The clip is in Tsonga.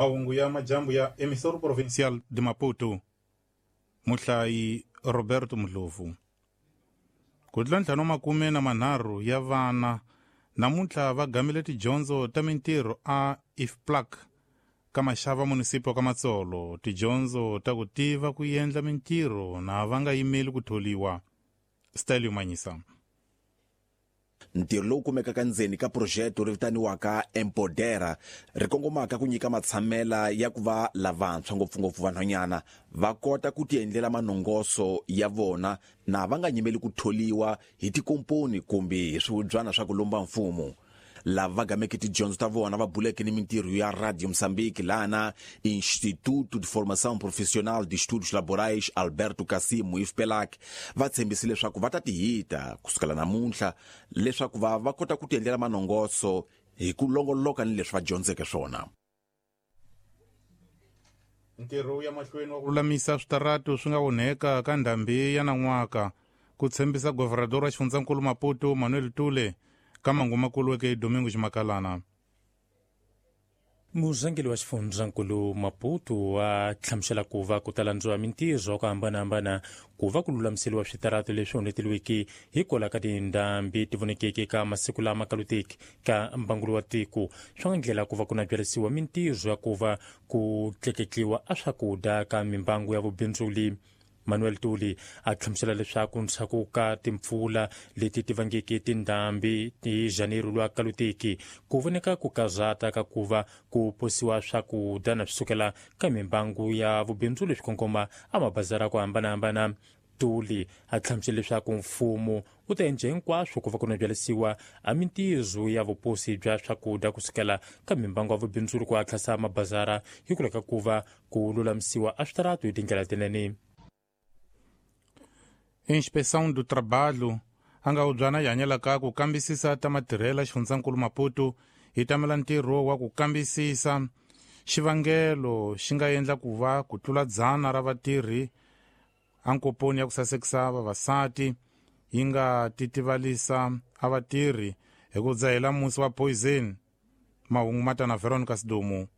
Mahungu ya majambu ya Emissora Provincial de Maputo. Muhlayi Roberto Mudlovu. Ku tlula 53 ya vana namuntlha va gamile tidyondzo ta mintirho a IFPLAC ka Maxava munisipio ka Matsolo. Tidyondzo ta ku tiva ku endla mintirho na va nga yimeli ku tholiwa. Stelio Manyisa. Ntirho lowu kumekaka ndzeni ka projeto ri vitaniwaka Empodera ri kongomaka ku nyika matshamela ya ku va lavantshwa ngopfungopfu vanhwanyana va kota ku tiendlela manongoso ya vona na va nga nyimeli ku tholiwa hi tikomponi kumbe hi swihubyana swa ku lomba mfumo. Lava va gameke tidyondzo ta vona va buleke ni mintirho ya Radio Mozambique lana Instituto de Formação Profissional de Estudos Laborais Alberto Cassimo IFPELAC va tshembise leswaku va ta tihita kusukela namuntlha leswaku va va kota ku tiendlela manongoso hi ku longoloka ni leswi va dyondzeke swona. Ntirho ya mahlweni wa ku lulamisa switaratu swi nga onheka ka ndhambi ya nan'waka, ku tshembisa governador wa xifundzankulu Maputo Manuel Tule ka mangumakulu weke Domingo Ximakalana. Murhangeri wa xifundzankulu Maputo a hlamusela ku va ku ta landziwa mintirho ku hambanahambana ku va ku lulamiseriwa switaratu leswi onheteliweke hikwalaho ka tindhambi ti vonekeke ka masiku lama kaluteki ka mbangulo wa tiko. Swa nga ndlela ku va ku na byarisiwa mintirho ya ku va ku tleketliwa a swakudya ka mimbangu ya vubindzuli. Manuel Tuli a hlamusela leswaku ndzhaku ka timpfula leti ti vangeke tindhambi hi Janeiro lwa kaluteki ku voneka ku karhata ka ku va ku posiwa swakudya na swi sukela ka mimbangu ya vubindzu leswi kongoma a mabazara ku hambanahambana. Tuli a hlamusela leswaku mfumo wu ta endla hinkwaswo ku va ku nabyalisiwa a mintirho ya vuposi bya swakudya kusukela ka mimbangu ya vubindzuri ku hatlasa mabazara hikwalaho ka ku va ku lulamisiwa a switaratu hi tindlela tinene. Inspeção do Trabalho a nga ubyana yi hanyelaka ku kambisisa ta matirhela xifundzankulu Maputo hi tamela ntirho wa ku kambisisa xivangelo xi nga endla ku va ku tlula 100 ra vatirhi a nkoponi ya ku sasekisa vavasati yi nga titivalisa a vatirhi hi ku dzahela musi wa poison. Mahungu matana Veronica Sidumo.